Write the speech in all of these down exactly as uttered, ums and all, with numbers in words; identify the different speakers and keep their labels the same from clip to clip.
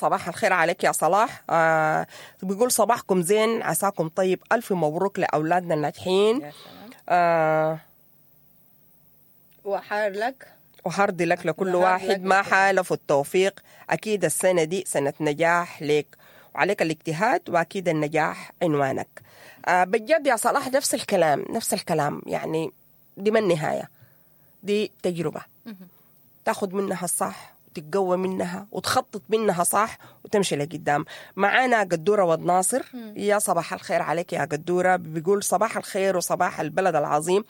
Speaker 1: صباح الخير عليك يا صلاح. آه بيقول صباحكم زين، عساكم طيب، ألف مبروك لأولادنا الناجحين.
Speaker 2: يا سلام.
Speaker 1: آه
Speaker 2: و hard luck.
Speaker 1: و hard luck لكل
Speaker 2: و hard
Speaker 1: واحد
Speaker 2: لك
Speaker 1: ما
Speaker 2: لكل
Speaker 1: حالف التوفيق. أكيد السنة دي سنة نجاح لك، وعليك الاجتهاد، وأكيد النجاح عنوانك. آه بجد يا صلاح نفس الكلام، نفس الكلام، يعني دي ما النهاية، دي تجربة تاخد منها الصح وتتقوى منها وتخطط منها صح وتمشي لقدام. معانا قدورة ود ناصر، يا صباح الخير عليك يا قدورة. بيقول صباح الخير وصباح البلد العظيم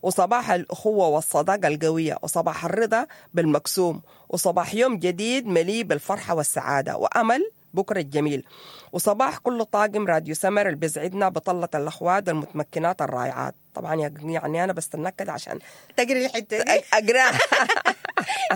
Speaker 1: وصباح الأخوة والصداقة القوية وصباح الرضا بالمقسوم وصباح يوم جديد مليء بالفرحة والسعادة وأمل بكرة الجميل، وصباح كل طاقم راديو سمر اللي بيسعدنا بطلة الأخوات المتمكنات الرائعات. طبعا يعني أنا بستناك كده عشان
Speaker 2: تقري الحتة دي.
Speaker 1: أقراها.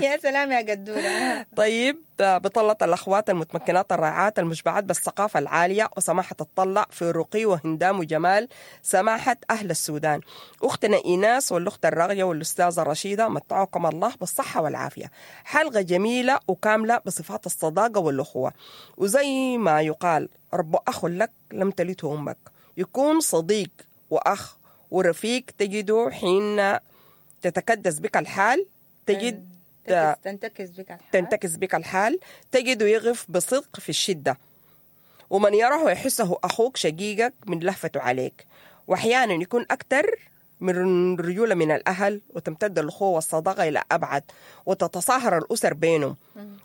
Speaker 2: يا سلام يا قدورة.
Speaker 1: طيب، بطلة الأخوات المتمكنات الرائعات المشبعات بالثقافة العالية وسماحة الطلع في رقي وهندام وجمال سماحة أهل السودان، أختنا إيناس والأخت الراغية والأستاذة رشيدة، متعكم الله بالصحة والعافية. حلقة جميلة وكاملة بصفات الصداقة والأخوة، وزي ما يقال رب أخ لك لم تلته أمك، يكون صديق وأخ ورفيق تجده حين تتكدس بك الحال، تجد
Speaker 2: تنتكس, تنتكس بك الحال،
Speaker 1: تنتكس بك الحال، تجده يغف بصدق في الشدة، ومن يراه يحسه أخوك شقيقك من لهفته عليك، وأحيانا يكون أكثر من رجولة من الأهل، وتمتد الأخوة والصداقة إلى أبعد، وتتصاهر الأسر بينهم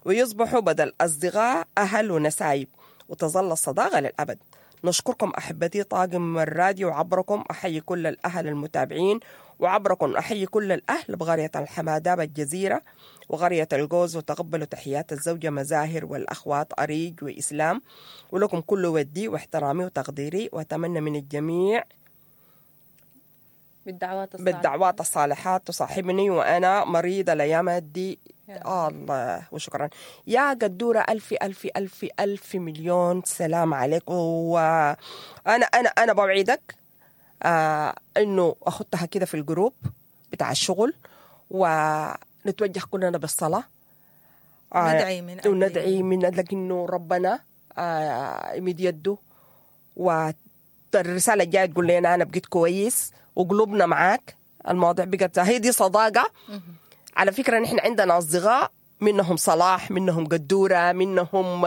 Speaker 1: ويصبحوا بدل أصدقاء أهل ونسايب، وتظل الصداقة للأبد. نشكركم أحبتي طاقم الراديو، وعبركم أحيي كل الأهل المتابعين، وعبركم أحيي كل الأهل بقرية الحماداب الجزيرة وقرية الجوز، وتقبلوا تحيات الزوجة مزاهر والأخوات أريج وإسلام، ولكم كل ودي واحترامي وتقديري، وأتمنى من الجميع
Speaker 2: بالدعوات الصالحات،
Speaker 1: بالدعوات الصالحات تصاحبني وأنا مريضة الأيام دي. آه الله، وشكرا يا قدورة. ألف ألف ألف ألف مليون سلام عليك. وأنا أنا أنا بوعدك آه إنه أخدتها كده في الجروب بتاع الشغل، ونتوجه كلنا بالصلاة، آه
Speaker 2: ندعي من أجل
Speaker 1: وندعي من أجلك إنه ربنا آه يمد يده، والرسالة الجاية تقول لنا أنا بقيت كويس وقلوبنا معاك. المواضيع بقت هي دي صداقة. على فكرة نحن عندنا أصدقاء منهم صلاح، منهم قدورة، منهم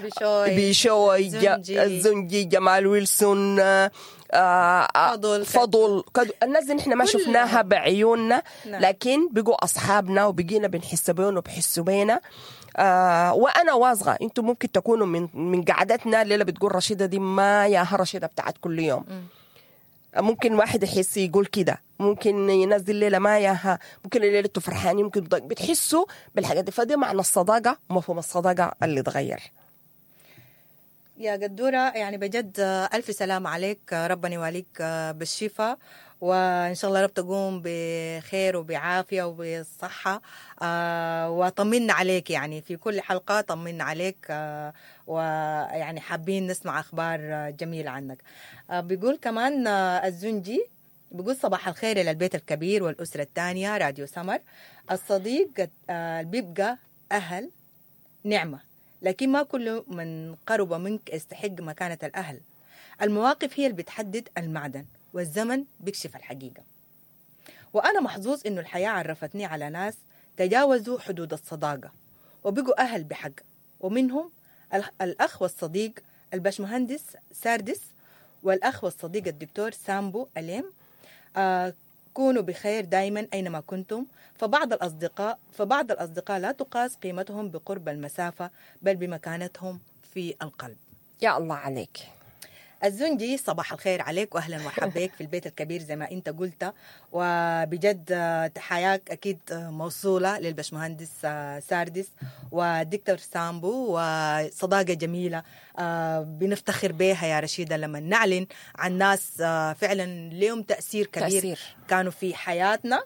Speaker 2: بشوي،
Speaker 1: بشوي،
Speaker 2: زنجي.
Speaker 1: الزنجي، جمال ويلسون، آه،
Speaker 2: فضل،
Speaker 1: فضل، الناس دي نحن ما شفناها بعيوننا،
Speaker 2: نعم.
Speaker 1: لكن بقوا أصحابنا وبقينا بنحس بيهم وبحسوا بينا. آه وأنا واثقة أنتم ممكن تكونوا من من قعدتنا الليلة بتقول رشيدة دي ما ياها رشيدة بتاعت كل يوم.
Speaker 2: م.
Speaker 1: ممكن واحد يحس يقول كده، ممكن ينزل ليلة ما ياها، ممكن الليلة انتوا فرحانين، ممكن بتحسوا بالحاجات دي. فدي معنى الصداقة ومفهوم الصداقة اللي اتغير.
Speaker 2: يا قدورة يعني بجد ألف سلام عليك، ربنا يواليك بالشفاء، وإن شاء الله رب تقوم بخير وبعافية وبصحة، آه وطمنا عليك يعني في كل حلقة، طمنا عليك، آه ويعني حابين نسمع أخبار جميلة عنك. آه بيقول كمان آه الزنجي بيقول صباح الخير إلى البيت الكبير والأسرة الثانية راديو سمر. الصديق آه بيبقى أهل نعمة، لكن ما كل من قرب منك يستحق مكانة الأهل. المواقف هي اللي بتحدد المعدن، والزمن بيكشف الحقيقة. وأنا محظوظ إنه الحياة عرفتني على ناس تجاوزوا حدود الصداقة وبقوا أهل بحق، ومنهم الأخ والصديق الباشمهندس ساردس، والأخ والصديق الدكتور سامبو أليم. آه كونوا بخير دائما أينما كنتم، فبعض الأصدقاء فبعض الأصدقاء لا تقاس قيمتهم بقرب المسافة، بل بمكانتهم في القلب.
Speaker 1: يا الله عليك
Speaker 2: الزنجي، صباح الخير عليك واهلا ومرحبا بك في البيت الكبير زي ما انت قلت، وبجد تحياك اكيد موصولة للبشمهندس ساردس ودكتور سامبو، وصداقه جميلة بنفتخر بها يا رشيده لما نعلن عن ناس فعلا لهم تاثير كبير
Speaker 1: تأثير.
Speaker 2: كانوا في حياتنا.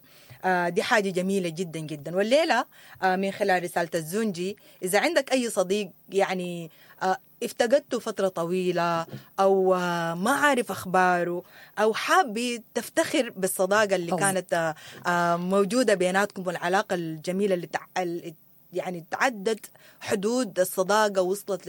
Speaker 2: دي حاجة جميلة جدا جدا. والليلة من خلال رسالة الزنجي، إذا عندك أي صديق يعني افتقدته فترة طويلة أو ما عارف أخباره أو حابب تفتخر بالصداقة اللي
Speaker 1: طبعا.
Speaker 2: كانت موجودة بيناتكم والعلاقة الجميلة اللي يعني تعدت حدود الصداقة، وصلت